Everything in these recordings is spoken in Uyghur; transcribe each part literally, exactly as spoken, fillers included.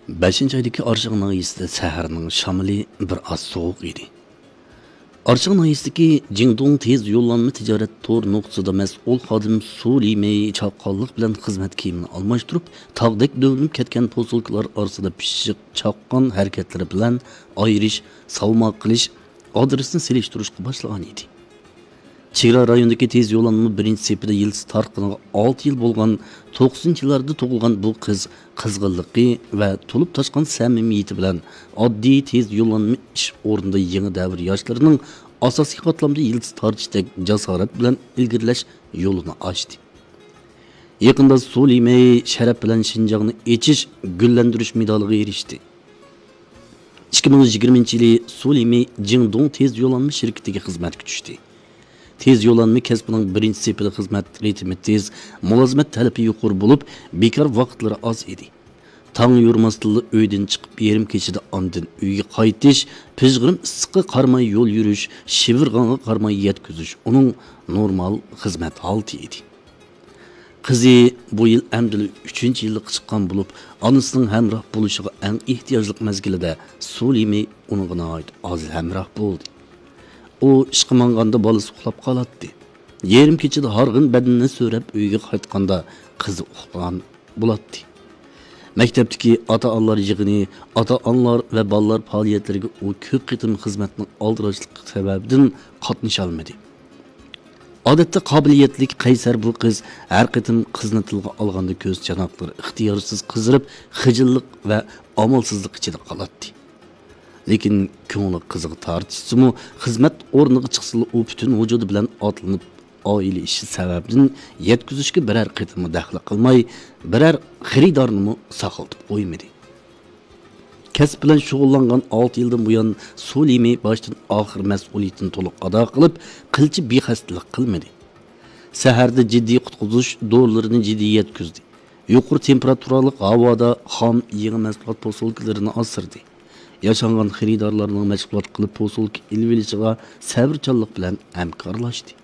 بەشىنچى ئايدىكى ئارشاڭ ناھىيەسىدە سەھەرنىڭ شامىلى بىر ئاز سوغۇق ئىدى. ئارشاڭ ناھىيەسىدىكى جىڭدۇڭ تېز يوللانما تىجارەت تور نۇقتىسىدا مەسئۇل خادىم سۇ لىمېي چاققانلىق بىلەن خىزمەت كىيىمىنى ئالماشتۇرۇپ، تاغدەك دۆۋىلىنىپ كەتكەن پوسۇلكىلار ئارىسىدا پىششىق چاققان ھەرىكەتلىرى بىلەن ئايرىش، ساۋما قىلىش، ئادرېسنى سېلىشتۇرۇشقا باشلىغان ئىدى. چېگرا رايونىدىكى تېز يوللانما بىرىنچى سېپىدە يىلتىز تارتقىنىغا ئالتە يىل بولغان توقسىنىنچى يىللاردا تۇغۇلغان بۇ قىز قىزغىنلىقى ۋە تولۇپ تاشقان سەمىمىيىتى بىلەن ئاددىي تېز يوللانما ئىش ئورنىدا يېڭى دەۋر ياشلىرىنىڭ ئاساسىي قاتلامدا يىلتىز تارتىشتەك جاسارەت بىلەن ئىلگىرىلەش يولىنى ئاچتى. يېقىندا سۇ لىمېي شەرەپ بىلەن شىنجاڭنى ئېچىش، گۈللەندۈرۈش مېدالىغا ئېرىشتى. ئىككى مىڭ يىگىرمىنچى يىلى سۇ لىمېي جىڭدۇڭ تېز يوللانما شىركىتىگە خىزمەتكە چۈشتى. تېز يوللانما كەسپىنىڭ بىرىنچى سېپىدە خىزمەت رىتىمى تېز، مۇلازىمەت تەلىپى يۇقىرى بولۇپ، بىكار ۋاقىتلىرى ئاز ئىدى. تاڭ يورۇماستىنلا ئۆيدىن چىقىپ، يېرىم كېچىدە ئاندىن ئۆيگە قايتىش، پىژغىرىم ئىسسىققا قارىماي يول يۈرۈش، شىۋىرغانغا قارىماي يەتكۈزۈش ئۇنىڭ نورمال خىزمەت ھالىتى ئىدى. قىزى بۇ يىل ئەمدىلا ئۈچىنچى يىللىققا چىققان بولۇپ، ئانىسىنىڭ ھەمراھ بولۇشىغا ئەڭ ئېھتىياجلىق مەزگىلىدە سۇ لىمېي ئۇنىڭغا ناھايىتى ئاز ھەمراھ بولدى. ئۇ ئىشقا ماڭغاندا بالىسى ئۇخلاپ قالاتتى. يېرىم كېچىدە ھارغىن بەدىنىنى سۆرەپ ئۆيگە قايتقاندا قىزى ئۇخلىغان بولاتتى. مەكتەپتىكى ئاتا-ئانىلار يىغىنى، ئاتا-ئانىلار ۋە بالىلار پائالىيەتلىرىگە ئۇ كۆپ قېتىم خىزمەتنىڭ ئالدىراشلىقى سەۋەبىدىن قاتنىشالمىدى. ئادەتتە قابىلىيەتلىك، قەيسەر بۇ قىز ھەر قېتىم قىزنى تىلغا ئالغاندا كۆز چاناقلىرى ئىختىيارسىز قىزىرىپ، خىجىللىق ۋە ئامالسىزلىق ئىچىدە قالاتتى. لېكىن كۆڭلى قىزىغا تارتىشسىمۇ، خىزمەت ئورنىغا چىقسىلا ئۇ پۈتۈن ۋۇجۇدى بىلەن ئاتلىنىپ، ئائىلە ئىشى سەۋەبىدىن يەتكۈزۈشكە بىرەر قېتىممۇ دەخلى قىلماي، بىرەر خېرىدارنىمۇ ساقلىتىپ قويمىدى. كەسىپ بىلەن شۇغۇللانغان ئالتە يىلدىن بۇيان، سۇ لىمېي باشتىن ئاخىر مەسئۇلىيىتىنى تولۇق ئادا قىلىپ، قىلچە بىخەستىلىك قىلمىدى. سەھەردە جىددىي قۇتقۇزۇش دورىلىرىنى جىددىي يەتكۈزدى. يۇقىرى تېمپېراتۇرالىق ھاۋادا خام يېڭى مەھسۇلات پوسۇلكىلىرىنى ئاسرىدى. ياشانغان خېرىدارلارنىڭ مەشغۇلات قىلىپ پوسۇلكا ئېلىۋېلىشىغا سەۋرچانلىق بىلەن ھەمكارلاشتى.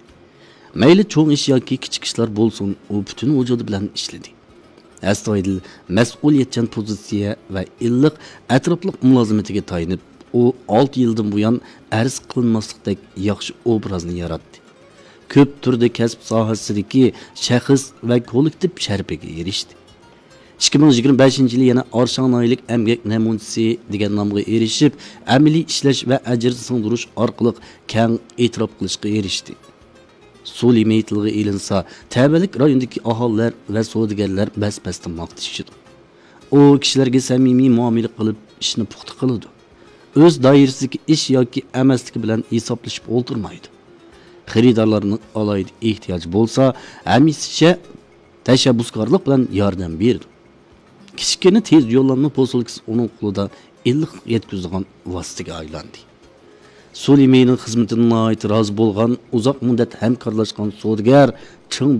مەيلى چوڭ ئىش ياكى كىچىك ئىشلار بولسۇن، ئۇ پۈتۈن ۋۇجۇدى بىلەن ئىشلىدى. ئەستايىدىل، مەسئۇلىيەتچان پوزىتسىيە ۋە ئىللىق ئەتراپلىق مۇلازىمىتىگە تايىنىپ، ئۇ ئالتە يىلدىن بۇيان ئەرز قىلىنماسلىقتەك ياخشى ئوبرازنى ياراتتى. كۆپ تۈردە كەسىپ ساھەسىدىكى شەخس ۋە كوللېكتىپ شەرىپىگە ئېرىشتى. ئىككى مىڭ يىگىرمە بەشىنچى يىلى يەنە ئارشاڭ ناھىيەلىك ئەمگەك نەمۇنىچىسى دېگەن نامغا ئېرىشىپ، ئەمەلىي ئىشلەش ۋە ئەجىر سىڭدۈرۈش ئارقىلىق كەڭ ئېتىراپ قىلىشقا ئېرىشتى. سۇ لىمىتى تىلغا ئېلىنسا، تەۋەلىك رايوندىكى ئاھالىلەر ۋە سودىگەرلەر بەس-بەستىن ماختىشىدۇ. ئۇ كىشىلەرگە سەمىمىي مۇئامىلە قىلىپ، ئىشنى پۇختا قىلىدۇ. ئۆز دائىرىسىدىكى ئىش ياكى ئەمەسلىكى بىلەن ھېسابلىشىپ ئولتۇرمايدۇ. خېرىدارلارنىڭ ئالاھىدە ئېھتىياجى بولسا، ھەمىشە تەشەببۇسكارلىق بىلەن ياردەم بېرىدۇ. كىچىككىنە تېز يوللانما پوسۇلكىسى ئۇنىڭ قولىدا ئىللىقلىق يەتكۈزىدىغان ۋاسىتىگە ئايلاندى. سۇ لىمىنىڭ خىزمىتىدىن ناھايىتى رازى بولغان، ئۇزاق مۇددەت ھەمكارلاشقان سودىگەر چىڭ